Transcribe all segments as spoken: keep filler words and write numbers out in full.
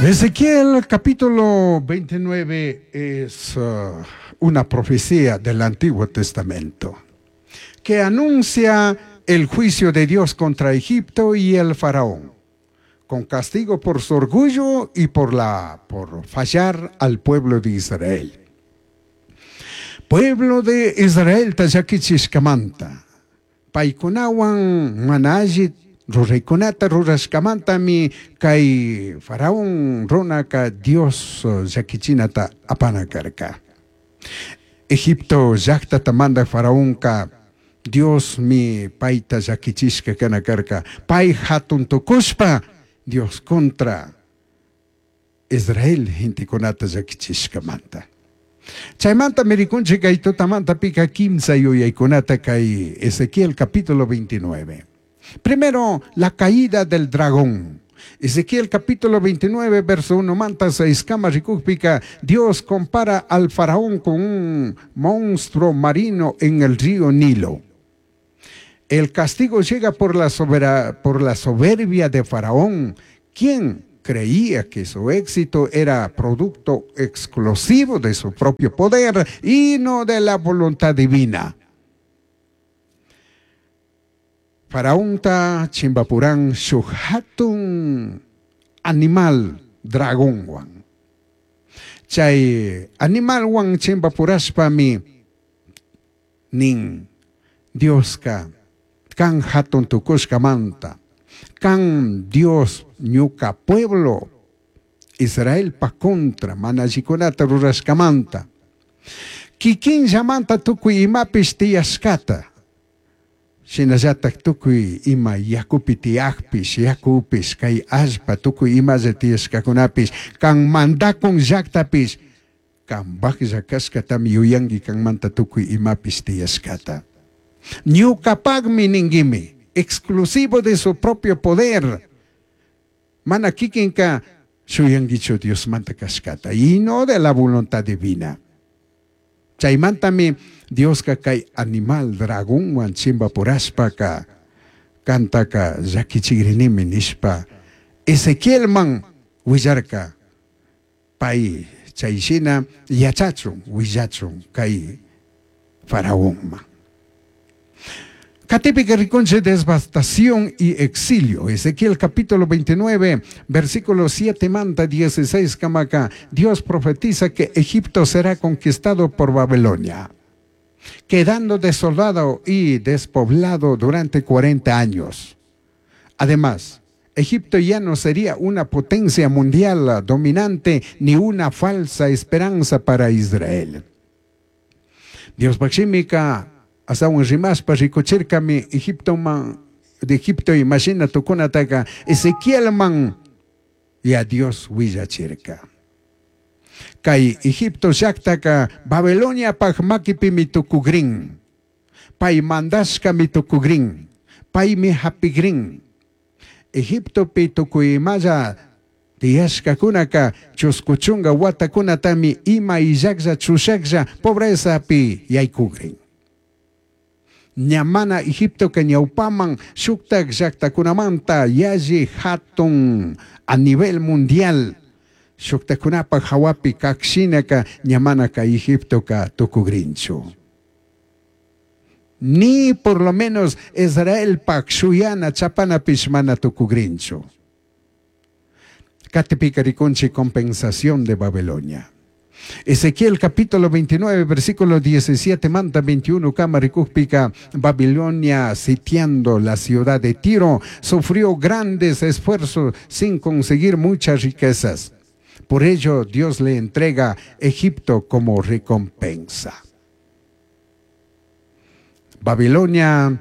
Ezequiel capítulo veintinueve es uh, una profecía del Antiguo Testamento que anuncia el juicio de Dios contra Egipto y el faraón, con castigo por su orgullo y por, la, por fallar al pueblo de Israel. Pueblo de Israel ta llaquichishcamanta, paicunahuan mana alli ruraykunata rurashkamantami kay faraón runaka Dios llakichinata apana karka. Egipto llaqtata mandaq faraonka Dios mi payta llakichishka kana karka. Pay hatun tukushpa Dios contra Israel gentekunata llakichishkamanta. Chaymanta mirikunchik kay tutamanta pika kimsa yuyaykunata kay Ezequiel capítulo veintinueve. Primero, la caída del dragón. Ezequiel capítulo veintinueve, verso uno, manta seis, kama rikukpika, Dios compara al faraón con un monstruo marino en el río Nilo. El castigo llega por la, sobera, por la soberbia de faraón, quien creía que su éxito era producto exclusivo de su propio poder y no de la voluntad divina. Faraonta chimbapuran shuk hatun animal dragonwan. Chay animalwan chimbapurashpami nin Dioska kan hatun tukushkamanta, kan Dios ñuka pueblo Israel pa contra mana allikunata rurashkamanta, kikinllamanta tukuy imapish tiyashkata, shinallatak tukuy ima yakupi tiyakpish, yakupish, kay allpa tukuy imalla tiyashkakunapish, kan mandakun llaktapish, kanpaklla kashkatami yuyanki kanmanta tukuy imapish tiyashkata. Ñukapakmi ninkimi, exclusivo de su propio poder. Mana kikinka shuyankichu Diosmanta kashkata y no de la voluntad divina. Chaymantami Dioska kay animal dragonwan chimbapurashpaka kantaka llakichigrinimi nishpa Ezequielman willarka pay chayshina yachachun willachun kay faraonman. Catipika rikunche devastación y exilio. Ezequiel capítulo veintinueve, versículo siete manta dieciséis kamaka. Dios profetiza que Egipto será conquistado por Babilonia, quedando desolado y despoblado durante cuarenta años. Además, Egipto ya no sería una potencia mundial dominante ni una falsa esperanza para Israel. Dios Baximica asawan rimaspa rikuchirkami Egipto man, de Egipto imagina tukunataka Ezequiel man ya Dios willachirka. Kay Egipto llaktaka Babilonia paj makipi mitukugrin, pay mandashka mitukugrin, paymi hapigrin. Egiptopi tukuymalla tiyashkakunaka chuskuchunka watakunatami ima illaklla chushaklla pobrezapi yaykugrin. Ñamana Egipto que ñawpaman shuktak llaktakunamanta yalli hatun a nivel mundial shuktakunapa hawapi kakshinaka ñamana ka Egipto ka tukugrinchu. Ni por lo menos Israel pak shuyana chapana pishmana tukugrinchu. Katipika rikunchi compensación de Babilonia. Ezequiel capítulo veintinueve, versículo diecisiete, manta veintiuno, Camaricúpica, Babilonia sitiando la ciudad de Tiro, sufrió grandes esfuerzos sin conseguir muchas riquezas. Por ello, Dios le entrega Egipto como recompensa. Babilonia,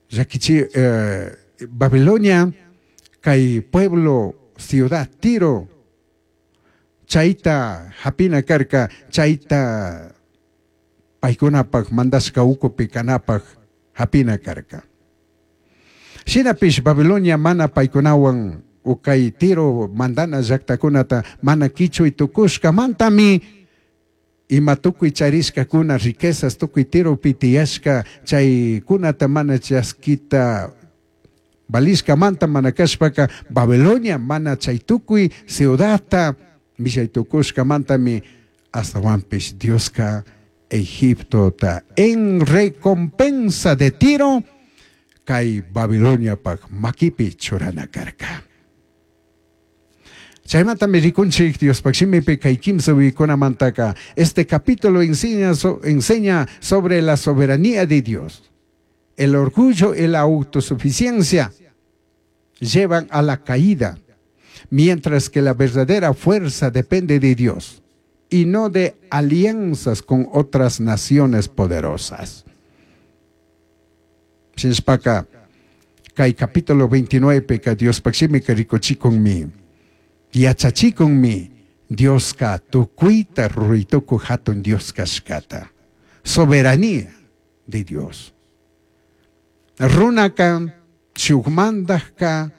Yaquichi, eh, Babilonia, kay pueblo, ciudad Tiro, chayta hapina karka, chayta paykunapak mandashka ukupi kanapak hapina karka. Shinapish Babilonia mana paykunawan ukay Tiro mandana llaktakunata mana kichuy tukushka mantami ima tukuy charishkakuna riquezas tukuy Tiropi tiyashka chaykunata mana chaskita Valishkamanta mana kashpaka Babilonia mana chay tukuy ciudadta millay tukushkamantami astawanpish Dioska Egiptota en recompensa de Tiro kay Babiloniapak makipi churana karka. Chaymantami rikunchik Diospak shimipi kay kimsa wiykunamantaka este capítulo enseña, so, enseña sobre la soberanía de Dios. El orgullo y la autosuficiencia llevan a la caída, mientras que la verdadera fuerza depende de Dios y no de alianzas con otras naciones poderosas. Shinashpaka, kay capítulo veintinueve ka Diospak shimika rikuchikunmi, yachachikunmi, Dioska tukuyta ruray tukuj hatun Dios kashkata. Soberanía de Dios. Runaka shukmandajka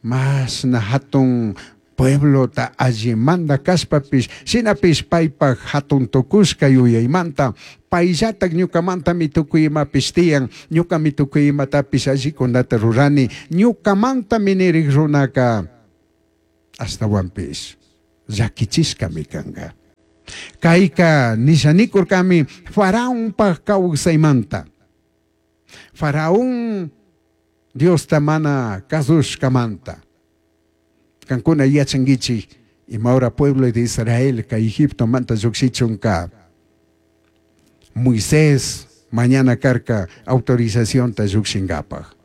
mashna hatun pueblota allimanda kashpapish shinapish paypak hatun tukushka yuyaymanta payllatak ñukamantami tukuy imapish tiyan, ñukami tukuy imatapish allikunata rurani, ñukamantami nirik runaka ashtawanpish llakichishkami kanka. Kayka nishanikurkami Faraonpak kawsaymanta. Faraón Diosta mana kasushkamanta. Kankuna yachankichik imahora pueblo de Israel kay Egiptomanta llukshichunka Moisés mañana karka autorizacionta llukshinkapak.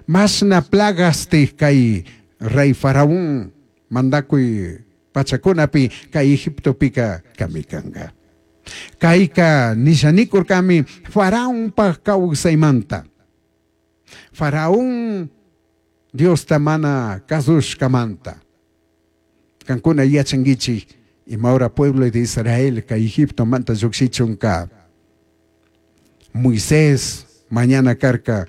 Mashna plagastik kay rey Faraón mandakuy pachakunapi kay Egiptopika kamikanka. Kayka nishanikurkami Faraonpak kawsaymanta. Faraón Diosta mana kasushkamanta. Kankuna yachankichik imahora pueblo de Israel kay Egiptomanta llukshichunka Moisés mañana karka